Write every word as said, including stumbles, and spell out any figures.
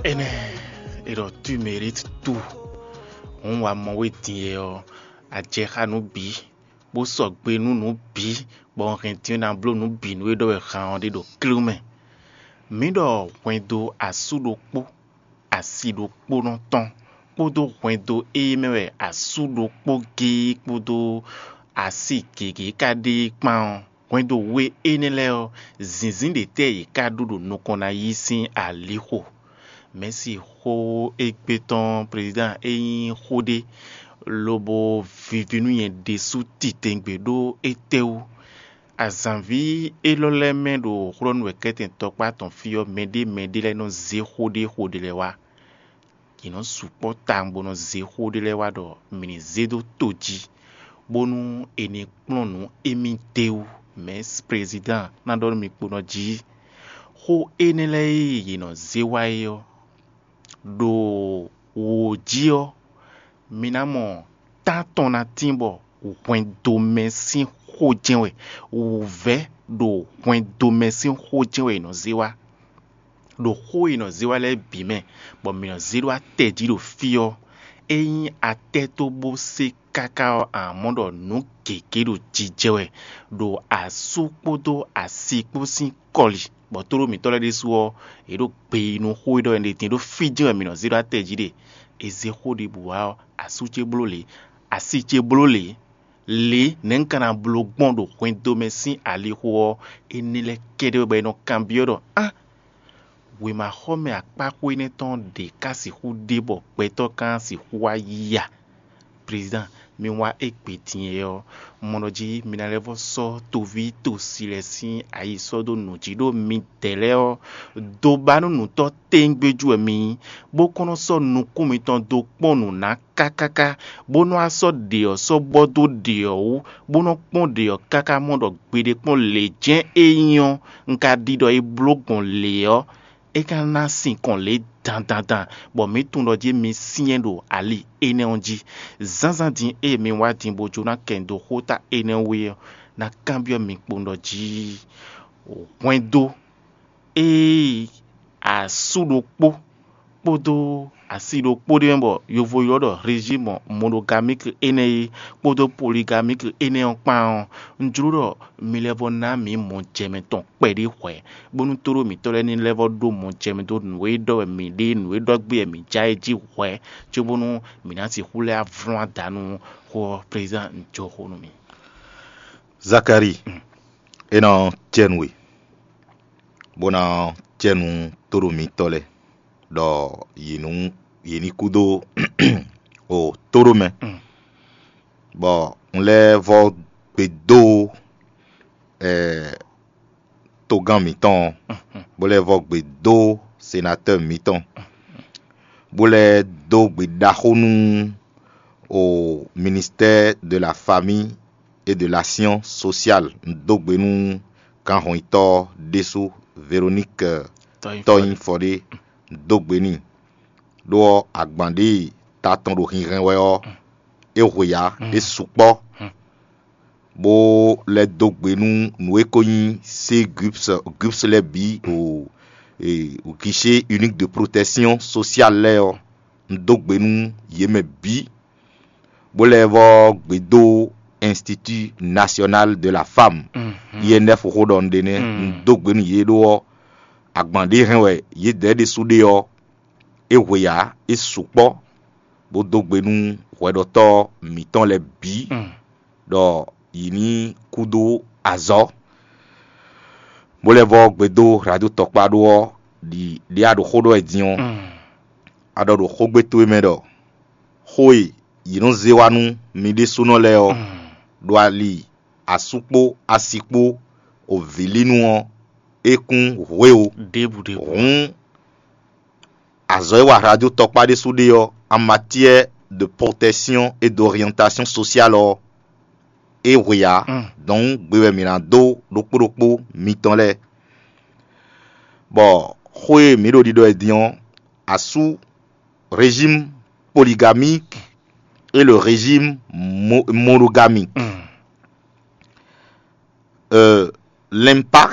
Énɛ́, è ɖɔ tu mérite tout. Hǔn wa mɔ wé din e ɔ́, a jɛ xá nǔ bǐ, bó sɔgbe nú nǔ bǐ, bɔ un hɛn din ɔ́ ná bló nǔ bǐ nú e ɖɔ wɛ han ɔ́ ɖe ɖo klú mɛ. Mǐ ɖɔ hwɛndo asú ɖokpó, asi ɖokpónɔ tɔn, kpódó hwɛndo e mɛ wɛ asú ɖokpó géé kpódó asi gěgé ka ɖe é kpán ɔ́, hwɛndo we énɛ́ lɛ́ɛ ɔ́, zǐnzín ɖětɛ́ yě ká ɖó ɖo nukɔn ná yí sín alixo? Mɛ̌si xó égbé tɔn prezidán é nyí xó ɖé, lobo vivi nú nyɛ ɖésú titewungbe ɖó étɛ́wú? Azǎnví élɔ́ lɛ́ɛ mɛ ɖo xlɔ́nú wɛ kɛ́tɛn tɔkpá tɔn fí ɔ́, mɛɖé mɛɖé lɛ́ɛ nɔ zé xó ɖé xó ɖé lɛ́ɛ wá. Yě nɔ sukpɔ́ tawun bó nɔ zé xó ɖé lɛ́ɛ wá ɖɔ mǐ ní zé dó to jí, bónú è nǐ kplɔ́n nǔ émí d'é wú. Mɛ̌ prezidán ná ɖɔ nú mi kpo nɔ jí. Xó énɛ́ lɛ́ɛ e yě nɔ zé wá é ɔ́, ɖo wǒ jí ɔ́, mi ná mɔ tán tɔn ná tín bɔ hwɛndomɛ sín xó jɛ́n wɛ, wǔvɛ́ ɖo hwɛndomɛ sín xó jɛ́n wɛ è nɔ zé wá. Ɖo xó e è nɔ zé wá lɛ́ɛ bǐ mɛ, bɔ mǐ nɔ zé ɖó atɛ jí ɖo fí ɔ́, é nyí atɛ tó bó sé káká ɔ́, a mɔ ɖɔ nǔ gěgé ɖo jijɛ wɛ ɖo asú kpódó asi kpó sín kɔli, bɔ tóɖó mǐtɔn lɛ́ɛ ɖésú ɔ́, yě ɖo gbe yi nú xó e ɖɔ è nɔ ɖe din ɖó fí jɛ́n wɛ mǐ nɔ zé ɖó atɛ jí ɖe. È zé xó ɖěbǔ wá ɔ́, asú ce bló lě, asi ce bló lě. Lě nɛ̌ un ka ná bló gbɔn ɖo hwɛndo mɛ sín alixo ɔ́, énɛ́ lɛ́ɛ kɛ́ɖɛ́ wɛ bɔ è nɔ kanbyɔ́ ɖɔ á, wěmaxɔmɛ akpáxwé énɛ́ tɔn ɖě ká sixú ɖe bɔ gbɛtɔ́ ka sixú wá yí a? Prezidán, mi wá égbé din é ɔ́, un mɔ ɖɔ jí mi ná lɛ́ vɔ́ sɔ́ toví tosi lɛ́ɛ sín ayi sɔ́ dó nǔ jí ɖó midɛɛ lɛ́ɛ ɔ́, dó ba nú nǔtɔ́ tɛ́ngbé jú wɛ mi nyí, bó kɔn nɔ sɔ́ nukún mitɔn dó kpɔ́n nǔ ná kákáká, bó nɔ́ wá sɔ́ ɖě ɔ́ sɔ́ bɔ dó ɖě ɔ́ wú, bó nɔ́ kpɔ́n ɖě ɔ́ káká mɔ ɖɔ gbeɖé kpɔ́n lě jɛ́n é nyí ɔ́, un ka ɖi ɖɔ é bló gbɔn lě ɔ́, é ka ná sinkɔn lě dandandan, bɔ mǐ tunwun ɖɔ jí mi syɛ́n ɖo ali énɛ́ ɔ́ jí. Zǎnzǎn din e mi wá din bó jó ná kɛ nyi dó xóta énɛ́ wú é ɔ́, ná kanbyɔ́ mi kpowun ɖɔ jí hwɛndo e asú ɖokpó kpódó asi ɖokpó ɖé mɛ bɔ yovo ylɔ́ ɖɔ régime monogamique énɛ́ é kpódó polygamie énɛ́ ɔ́ kpán ɔ́, un jló ɖɔ mi lɛ́ vɔ ná mǐ mɔjɛmɛ tɔn kpɛɖé hwɛ̌, bónú tóɖó mǐtɔn lɛ́ɛ ní lɛ́ vɔ ɖó mɔjɛmɛ dó nǔ e ɖɔ wɛ mǐ ɖe, nǔ e ɖɔ gbé wɛ mǐ ja é jí hwɛ̌, cóbónú mǐ ná sixú lɛ́ vlɔ́n adǎ nú xó ɔ́. Président, un jó xó nú mi. Zakalíi, é ná cɛ nú we, bó ná cɛ nú tóɖó mǐtɔn lɛ́ɛ, ɖɔ yě nú yě ní kú dó o tóɖó mɛ, bɔ un lɛ́ vɔ gbe dó togán mǐtɔn, bó lɛ́ vɔ gbe dó senatɔ́ɔ mǐtɔn, bó lɛ́ dó gbe ɖaxó nú o ministère de la famille et de l'action sociale. Un dó gbe nú gǎnhɔnyitɔ́ ɖésú, Véronique Tɔnyifɔɖé, un dó gbe n'i. Ɖó ɔ́, agban ɖě ta tɔn ɖo hinhɛn wɛ ɔ́, é hwe ǎ, é sukpɔ́, bó lɛ́ dó gbe nú nǔ e ko nyí sé guips guips lɛ́ɛ bǐ o, guichet unique de protection sociale lɛ́ɛ ɔ́, un dó gbe nú yě mɛ bǐ, bó lɛ́ vɔ gbe dó Institut National de la Femme, I N F xó ɖɔ un ɖe nɛ́, un dó gbe nú yě ɖó ɔ́, agban ɖě hɛn wɛ yědɛɛ ɖésú ɖe ɔ́, é hwe ǎ, é sukpɔ́, bó dó gbe nú hwɛɖɔtɔ́ mǐtɔn lɛ́ɛ bǐ, ɖɔ yě ní kú dó azɔ̌, bó lɛ́ vɔ gbe dó hlǎdó tɔkpá ɖó ɔ́, ɖi ɖě a ɖo xó ɖɔ wɛ din ɔ́, a ɖɔ ɖo xógbé towe mɛ ɖɔ xó e yě nɔ zé wá nú mi ɖésúnɔ lɛ́ɛ ɔ́, ɖo ali asú kpó asi kpó o vǐlínu ɔ́, é kún hwé o. Hǔn azɔ̌ e wa hlajó tɔkpá ɖésú ɖe ɔ́, en matière de protection et d'orientation sociale ɔ́, é hwe ǎ. Dɔ̌n gbe wɛ mǐ ná dó ɖokpó ɖokpó mitɔn lɛ́ɛ, bɔ xó e mǐ ɖo ɖiɖɔ wɛ din ɔ́, asú régime polygamique et le régime mo- monogamique. Euh, l'impact